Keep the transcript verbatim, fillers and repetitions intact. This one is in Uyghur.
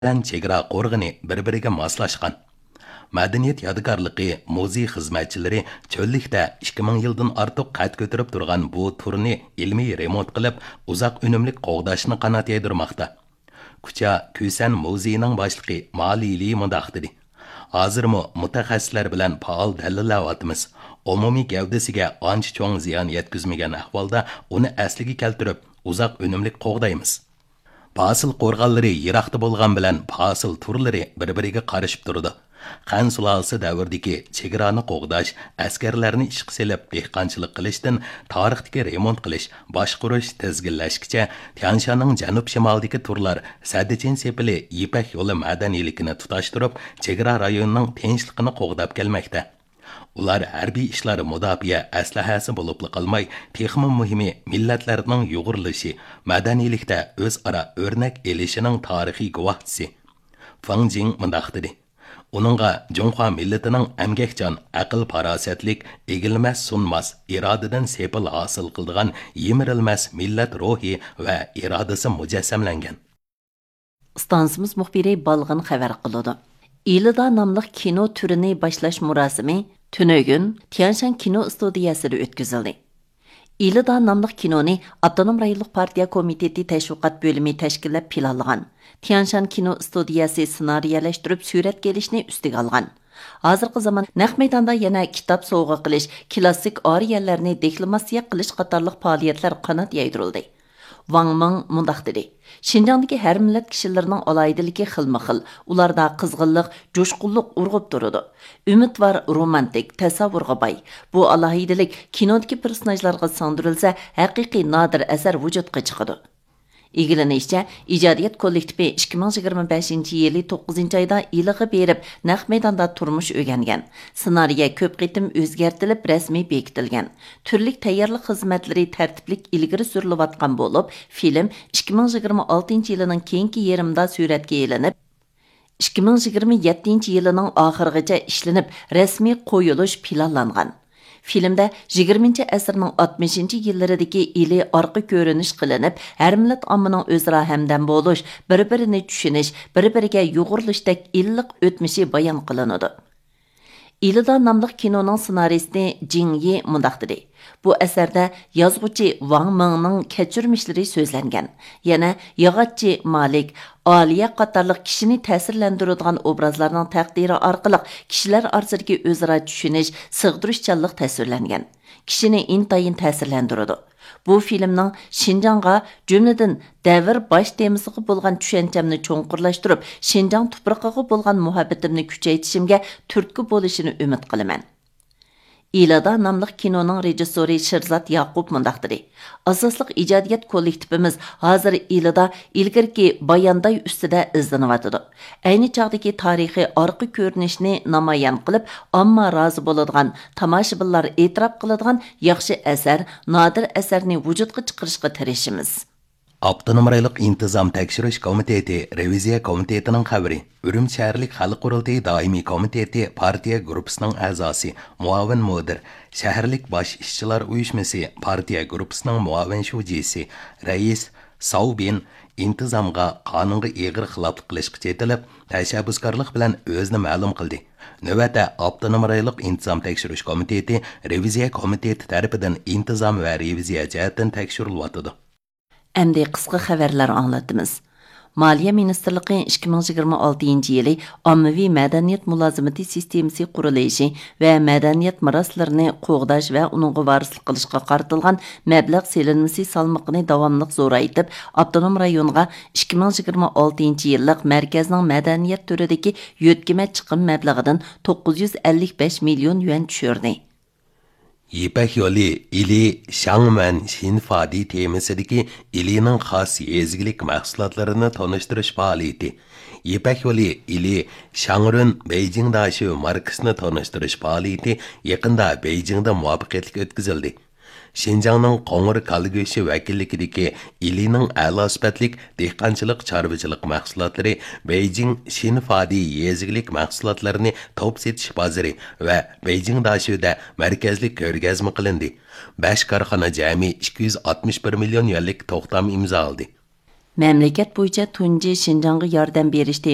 بىلەن چېگرا قورغىنى بىر-بىرىگە ماسلاشقان. مەدەنىيەت يادىكارلىقى مۇزېي خىزمەتچىلىرى چۆللۈكتە ئىككى مىڭ يىلدىن ئارتۇق قەد كۆتۈرۈپ تۇرغان بۇ تۇرنى ئىلمىي رېمونت قىلىپ، ئۇزاق ئۈنۈملۈك قوغداشنى قانات يايدۇرماقتا. كۇچا كۈسەن مۇزېيىنىڭ باشلىقى ما لىلى مۇنداق دېدى: «ھازىرمۇ مۇتەخەسسىسلەر بىلەن پائال دەلىللەۋاتىمىز. ئومۇمىي گەۋدىسىگە ئانچە چوڭ زىيان يەتكۈزمىگەن ئەھۋالدا ئۇنى ئەسلىگە كەلتۈرۈپ، ئۇزاق ئۈنۈملۈك قوغدايمىز.» پاسىل قورغانلىرى يىراقتا بولغان بىلەن پاسىل تۇرلىرى بىر-بىرىگە قارىشىپ تۇرىدۇ. خەن سۇلالىسى دەۋرىدىكى چېگرانى قوغداش، ئەسكەرلەرنى ئىشقا سېلىپ دېھقانچىلىق قىلىشتىن تارىختىكى رېمونت قىلىش، باشقۇرۇش، تىزگىنلەشكىچە تيانشاننىڭ جەنۇب-شىمالىدىكى تۇرلار سەددىچىن سېپىلى يىپەك يولى مەدەنىيلىكىنى تۇتاشتۇرۇپ، چېگرا رايونىنىڭ تىنچلىقىنى قوغداپ كەلمەكتە. ئۇلار ھەربىي ئىشلار مۇداپىئە ئەسلىھەسى بولۇپلا قالماي، تېخىمۇ مۇھىمى مىللەتلەرنىڭ يۇغۇرۇلۇشى، مەدەنىيلىكتە ئۆزئارا ئۆرنەك ئېلىشىنىڭ تارىخىي گۇۋاھچىسى. فېڭ جىڭ مۇنداق دېدى: «ئۇنىڭغا جۇڭخۇا مىللىتىنىڭ ئەمگەكچان، ئەقىل-پاراسەتلىك، ئېگىلمەس-سۇنماس، ئىرادىدىن سېپىل ھاسىل قىلىدىغان يىمىرىلمەس مىللەت روھى ۋە ئىرادىسى مۇجەسسەملەنگەن.» ئىستانسىمىز مۇخبىرى بالغىن خەۋەر قىلىدۇ. ئىلىدا ناملىق كىنو تۈرىنى باشلاش مۇراسىمى تۈنۈگۈن تيانشان كىنو ئىستۇدىيەسىدە ئۆتكۈزۈلدى. ئىلىدا ناملىق كىنونى ئاپتونوم رايونلۇق پارتىيە كومىتېتى تەشۋىقات بۆلۈمى تەشكىللەپ پىلانلىغان. تيانشان كىنو ئىستۇدىيەسى سېنارىيەلەشتۈرۈپ سۈرەتكە ئېلىشنى ئۈستىگە ئالغان. ھازىرقى زامان نەق مەيداندا يەنە كىتاب سوۋغا قىلىش، كلاسسىك ئارىيەلەرنى دېكلاماتسىيە قىلىش قاتارلىق پائالىيەتلەر قانات يايدۇرۇلدى. ۋاڭ مىڭ مۇنداق دېدى: «شىنجاڭدىكى ھەر مىللەت كىشىلىرىنىڭ ئالاھىدىلىكى خىلمۇخىل، ئۇلاردا قىزغىنلىق، جۇشقۇنلۇق ئۇرغۇپ تۇرىدۇ. ئۈمىدۋار، رومانتىك، تەسەۋۋۇرغا باي. بۇ ئالاھىدىلىك كىنودىكى پېرسوناژلارغا سىڭدۈرۈلسە، ھەقىقىي نادىر ئەسەر ۋۇجۇدقا چىقىدۇ.» ئىگىلىنىشىچە، ئىجادىيەت كوللېكتىپى ئىككى مىڭ يىگىرمە بەشىنچى يىلى توققۇزىنچى ئايدا ئىلىغا بېرىپ، نەق مەيداندا تۇرمۇش ئۆگەنگەن. سېنارىيە كۆپ قېتىم ئۆزگەرتىلىپ، رەسمىي بېكىتىلگەن. تۈرلۈك تەييارلىق خىزمەتلىرى تەرتىپلىك ئىلگىرى سۈرۈلۈۋاتقان بولۇپ، فىلىم ئىككى مىڭ يىگىرمە ئالتىنچى يىلىنىڭ كېيىنكى يېرىمىدا سۈرەتكە ئېلىنىپ، ئىككى مىڭ يىگىرمە يەتتىنچى يىلىنىڭ ئاخىرىغىچە ئىشلىنىپ، رەسمىي قويۇلۇش پىلانلانغان. فىلىمدە يىگىرمىنچى ئەسىرنىڭ ئاتمىشىنچى يىللىرىدىكى ئىلى ئارقا كۆرۈنۈش قىلىنىپ، ھەر مىللەت ئاممىنىڭ ئۆزئارا ھەمدەم بولۇش، بىر-بىرىنى چۈشىنىش، بىر-بىرىگە يۇغۇرۇلۇشتەك ئىللىق ئۆتمۈشى بايان قىلىنىدۇ. ئىلىدا ناملىق كىنونىڭ سېنارىستى جىڭ يى مۇنداق دېدى: «بۇ ئەسەردە يازغۇچى ۋاڭ مىڭنىڭ كەچۈرمىشلىرى سۆزلەنگەن. يەنە ياغاچچى مالىك، ئالىيە قاتارلىق كىشىنى تەسىرلەندۈرىدىغان ئوبرازلارنىڭ تەقدىرى ئارقىلىق كىشىلەر ئارىسىدىكى ئۆزئارا چۈشىنىش، سىغدۇرۇشچانلىق تەسۋىرلەنگەن. كىشىنى ئىنتايىن تەسىرلەندۈرىدۇ. بۇ فىلىمنىڭ شىنجاڭغا، جۈملىدىن دەۋر باش تېمىسىغا بولغان چۈشەنچەمنى چوڭقۇرلاشتۇرۇپ، شىنجاڭ تۇپرىقىغا بولغان مۇھەببىتىمنى كۈچەيتىشىمگە تۈرتكە بولۇشىنى ئۈمىد قىلىمەن.» ئىلىدا ناملىق كىنونىڭ رېژىسسورى شىرزات ياقۇپ مۇنداق دېدى: «ئاساسلىق ئىجادىيەت كوللېكتىپىمىز ھازىر ئىلىدا ئىلگىرىكى بايانداي ئۈستىدە ئىزدىنىۋاتىدۇ. ئەينى چاغدىكى تارىخىي ئارقا كۆرۈنۈشنى نامايان قىلىپ، ئامما رازى بولىدىغان، تاماشىبىنلار ئېتىراپ قىلىدىغان ياخشى ئەسەر، نادىر ئەسەرنى ۋۇجۇدقا چىقىرىشقا تىرىشىمىز.» ئاپتونوم رايونلۇق ئىنتىزام تەكشۈرۈش كومىتېتى رېۋىزىيە كومىتېتىنىڭ خەۋىرى. ئۈرۈمچى شەھەرلىك خەلق قۇرۇلتىيى دائىمىي كومىتېتى پارتىيە گۇرۇپپىسىنىڭ ئەزاسى، مۇئاۋىن مۇدىر، شەھەرلىك باش ئىشچىلار ئۇيۇشمىسى پارتىيە گۇرۇپپىسىنىڭ مۇئاۋىن شۇجىسى، رەئىس ساۋ بىن ئىنتىزامغا، قانۇنغا ئېغىر خىلاپلىق قىلىشقا چېتىلىپ، تەشەببۇسكارلىق بىلەن ئۆزىنى مەلۇم قىلدى. نۆۋەتتە ئاپتونوم رايونلۇق ئىنتىزام تەكشۈرۈش كومىتېتى رېۋىزىيە كومىتېتى تەرىپىدىن ئىنتىزام ۋە رېۋىزىيە جەھەتتىن تەكشۈرۈلۈۋاتىدۇ. ئەمدى قىسقا خەۋەرلەر ئاڭلىتىمىز. مالىيە مىنىستىرلىقى ئىككى مىڭ يىگىرمە ئالتىنچى يىلى ئاممىۋى مەدەنىيەت مۇلازىمىتى سىستېمىسى قۇرۇلۇشى ۋە مەدەنىيەت مىراسلىرىنى قوغداش ۋە ئۇنىڭغا ۋارىسلىق قىلىشقا قارىتىلغان مەبلەغ سېلىنمىسى سالمىقىنى داۋاملىق زورايتىپ، ئاپتونوم رايونغا ئىككى مىڭ يىگىرمە ئالتىنچى يىللىق مەركەزنىڭ مەدەنىيەت تۈرىدىكى يۆتكىمە چىقىم مەبلىغىدىن توققۇز يۈز ئەللىك بەش مىليون يۈەن چۈشۈردى. يىپەك يولى ئىلى شاڭمەن شىنفادى تېمىسىدىكى ئىلىنىڭ خاس يېزا ئىگىلىك مەھسۇلاتلىرىنى تونۇشتۇرۇش پائالىيىتى. يىپەك يولى ئىلى شاڭرۈن بېيجىڭ داشۆ ماركىسىنى تونۇشتۇرۇش پائالىيىتى يېقىندا بېيجىڭدا مۇۋەپپەقىيەتلىك ئۆتكۈزۈلدى. شىنجاڭنىڭ قوڭۇر كالا گۆشى ۋەكىللىكىدىكى ئىلىنىڭ ئەلا سۈپەتلىك دېھقانچىلىق، چارۋىچىلىق مەھسۇلاتلىرى بېيجىڭ شىنفادى يېزا ئىگىلىك مەھسۇلاتلىرىنى توپ سېتىش بازىرى ۋە بېيجىڭ داشۆدە مەركەزلىك كۆرگەزمە قىلىندى. بەش كارخانا جەمئىي ئىككى يۈز ئاتمىش بىر مىليون يۈەنلىك توختام ئىمزالىدى. مەملىكەت بويىچە تۇنجى شىنجاڭغا ياردەم بېرىش تېمىسى